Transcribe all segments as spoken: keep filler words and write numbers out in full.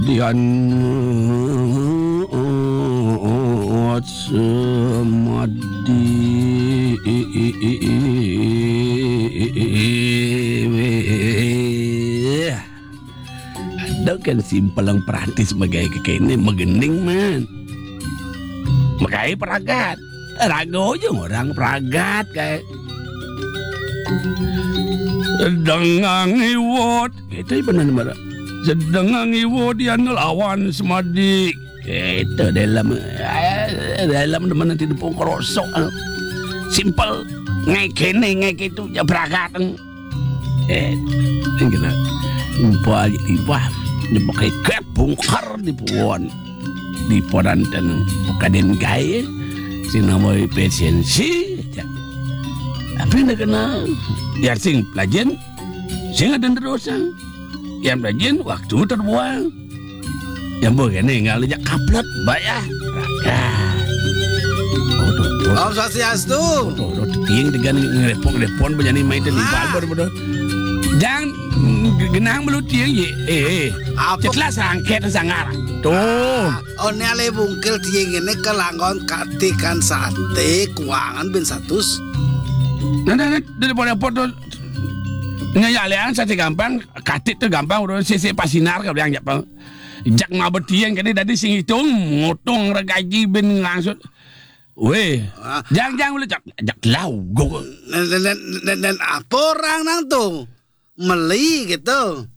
Dian Semadi. Ada kan simpel yang praktis bagai kekene magening, man. Makai pragat. Raga aja orang pragat kayak. Sedeng ngiwot. Kita benar, benar. Sedeng ngiwot dia lawan Semadi. Itu dalam, eh, dalam demen nanti dipung kerosok. Simpel. Ngai kene, ngai kitu, ya pragat. Eh, ini kena. Umpah aja, umpah. Dia pakai kep bungkar di puan. Di poran dan kaden gae. Si nama efisiensi aja. Tapi nak kena. Ya sing pelajen. Sing ada terusan. Yang pelajen waktu terbuang. Yang boleh ni ngalih jak kaplet. Baik ah. Rakan. Oh, tuh, tuh. Om Swastiastu. Tuh, tuh, tuh, tiang dengan ngerepok-repok, berani main tadi Ah. Balbor, bodoh. Jangan, mm, genang belum tiang, ye. Eh, eh. Apa? Cetlah sangket sangar. Tuh. Ah, oh, ni alih bungkil tiang ini kelanggon katikan sate, kuangan bin satus. Nah, nah, nah, dari poda-poda tuh. Nya ya, alian sate gampang, katik tuh gampang, udah sisi pasinar ke bilang, jak, Bang. Jak mau bertiang, kene tadi sing hitung, ngotong regaji bin langsung. Weh, Ah. Jang, jang, boleh, jak, jak lau, gua. Dan, dan, dan, dan, dan apa orang nang tu? Meli gitu.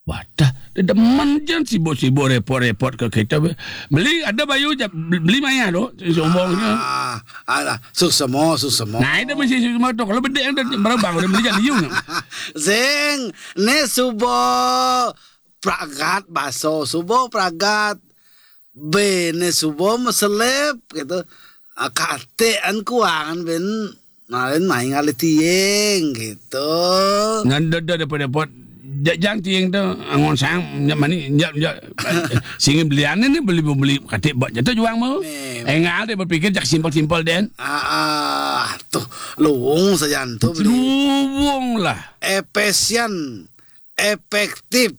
Wadah, dia demen jan sibuk-sibuk repot-repot ke kita. Beli ada bayu je, beli maya tu, sombongnya. Ah, alah, suksema, suksema. Nah, itu masih semua tu. Kalau bedek yang dah berabang, udah beli jadi you. Sing, ni subo pragat baso, subo pragat. Bene subo meselep gitu. Ah, katean kuangan ben. Nah, ben main ngalih tiang gitu. Ngan dada daripada pot. Jak jang tiang tu, angon sang, nyak mani, nyak, nyak. Singin belian ni beli, beli katik bak jatuh juang mau. Memang. Engal dia berpikir jak simpel-simpel den. Ah, ah, tuh, luwung saja tu beli. Luwung lah. Efisien, efektif,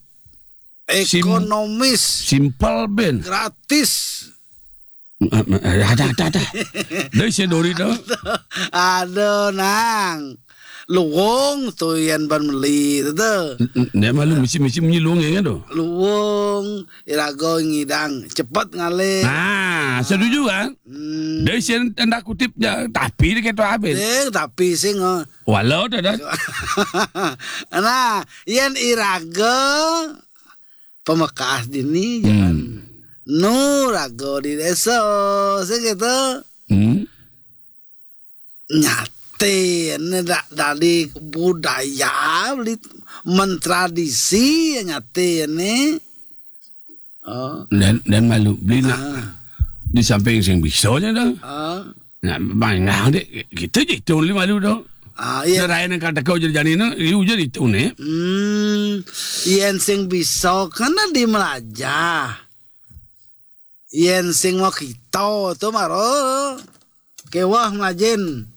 Sim-, ekonomis, simpel ben. Gratis. Eh, eh, ada, ada, ada. Dari saya dori tu. Aduh, nang. Luwung tu yan ban meli tu, tu. N-, n-, dia malu misi-misi munyi luwung ya tu. Luwung, irago ngidang, cepet ngalih. Ah, setuju kan? Hmm. Dari saya tanda kutip je, tapi dia kata habis. Eh, tapi sing, oh. Walau tu dah. Nah, yan irago pemekas dini, hmm, jangan nu rago di desa, sing gitu. Hmm. Nyate ne da-, dari budaya beli mentradisi nyate ne. Oh. Dan, dan malu beli nak. Ah. Di samping sing bisa je dah. Ah. Nah, bang, nah, dek, kita je itu beli malu dah. Ah, iya. Serai nak kata kau jadi jani nak, you jadi itu ni. Hmm, yen sing bisa kan di melajah. Yen sing mau kita tu maro kewah melajin.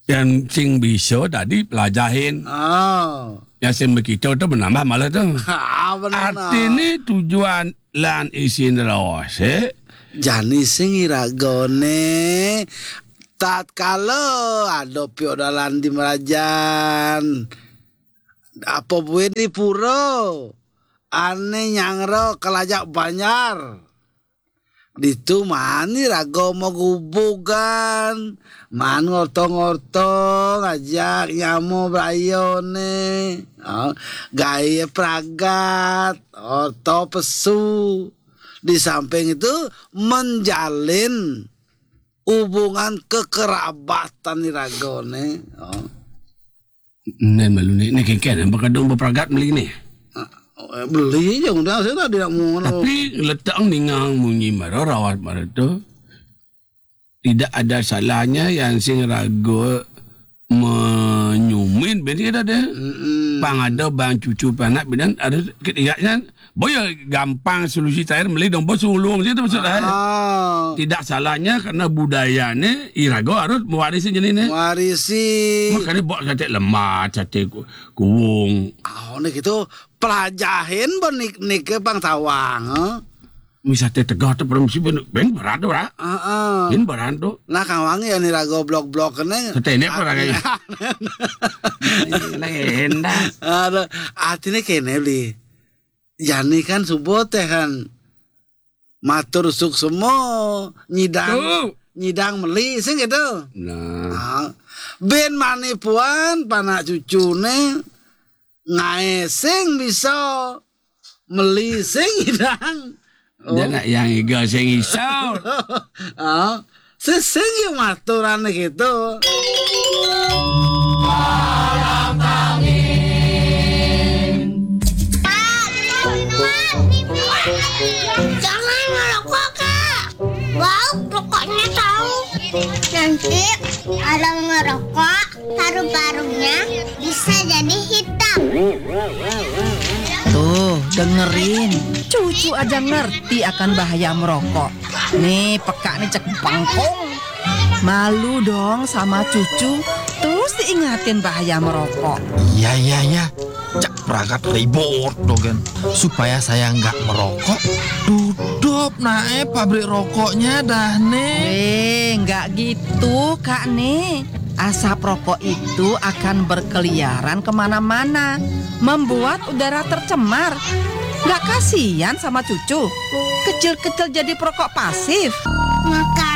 Yang sing bisa tadi pelajahin. Oh. Yang sing begitu tu menambah malah tu. Ha, benar. Arti ni tujuan lan isin rawase. Jani sing iragone tatkala ada piodalan di merajan. Apa buin di pura? Ane nyangro kelajak banjar. Ditu mani raga magubugan, man ngorto-ngorto ngajak nyamo brayone, oh, gawe pragat, orto pesu. Di samping itu menjalin hubungan kekerabatan di ragone, oh. Nen malu ni, ni kengken, apa kadung berpragat meli ni? Ah, eh, beli je udah, saya tak, tidak mau. Tapi letak ningang munyi mara, rawat mara tu, tidak ada salahnya yang sing raga menyumin, ben kita ada. Mm-mm. Pang ada bang cucu panak bidan ada ketiga kan. Boya gampang solusi terakhir meli dong bos ulung situ maksud saya. Ah. Tidak salahnya karena budayane iraga harus mewarisi jenis ni. Warisi. Makanya buat kata lemah, kata ku- kuung. Oh, ni gitu pelajahin ba nik nik ke bang tawang. Eh? Misate tegah tu permisi ben ben berat tu lah. Heeh. Ben berat tu. Nah, kang wangi ya ni rago blok-blok kene. Ketenek apa lagi? Lain dah. Ada artinya kene beli. Jani kan subuh teh kan matur suksema nyidang Tuh. nyidang meli sing gitu. Nah. Ah, ben manipuan panak cucune ngae sing bisa meli sing nyidang. Dia nak yang iga sing isau. Ah, sing sing yang maturan gitu. Jangan merokok, Kak. Bau rokoknya tahu. Nanti orang merokok, paru-parunya bisa jadi hitam. Tuh, dengerin. Cucu aja ngerti akan bahaya merokok. Nih, peka nih cek bengkong. Malu dong sama cucu. Terus diingatin bahaya merokok. Iya, iya, iya. Cak pragat ribut dogen. Supaya saya nggak merokok, tutup nae pabrik rokoknya dah nih. Eh, nggak gitu, Kak nih. Asap rokok itu akan berkeliaran kemana-mana, membuat udara tercemar. Nggak kasihan sama cucu? Kecil-kecil jadi perokok pasif. Maka